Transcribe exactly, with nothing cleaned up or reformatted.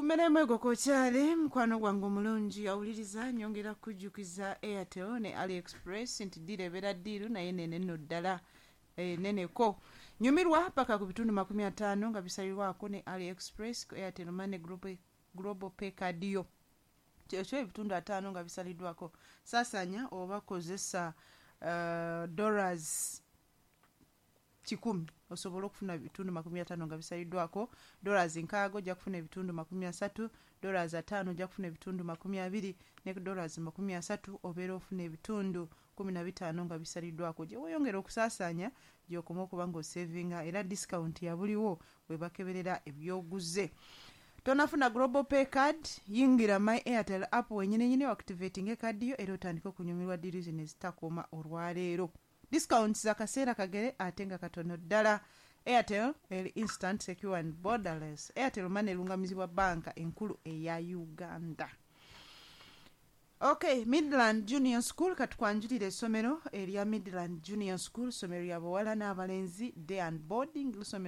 Mmeremu egokokyale, mukwano gwange omulungi awuliriza, nyongera kujjukiza Airtel ne AliExpress nti deal ebeera deal, naye nene nno ddala eh, neneko. Nyumirwa paka ku bitundu makumi ataano nga bisalirwako ne AliExpress ku Airtel Money Global, Global Pay card yo. Kyekyo, ebitundu ataano nga bisaliddwako. Saasanya oba kozesa uh, dollars kikumi osobole okufuna ebitundu makumi ataano nga bisaliddwako. Dollars nkaaga ojja kufuna ebitundu makumi asatu, dollars ataano ojja kufuna ebitundu makumi abiri, ne dollars makumi asatu obeera ofuna ebitundu kumi na bitaano nga bisaliddwako. Gye weeyongera okusaasaanya, gy'okoma okuba ng'osevinga, era discount yabuliwo we bakeberera ebyoguze. Tonafuna Global Pay card? Yingira My Airtel app wenyininyini, activating ekaadi yo, era otandike okunyumirwa deal zino ezitakoma olwaleero. Discounts zakaseera kagere ate nga katono ddala. Airtel eri instant, secure and borderless. Airtel Money erungamizibwa Banka Enkulu eya Uganda. Okay, Midland Junior School, katukwanjulira essomero erya Midland Junior School, ssomero lya bawala n'abalenzi, day and boarding. Lusomero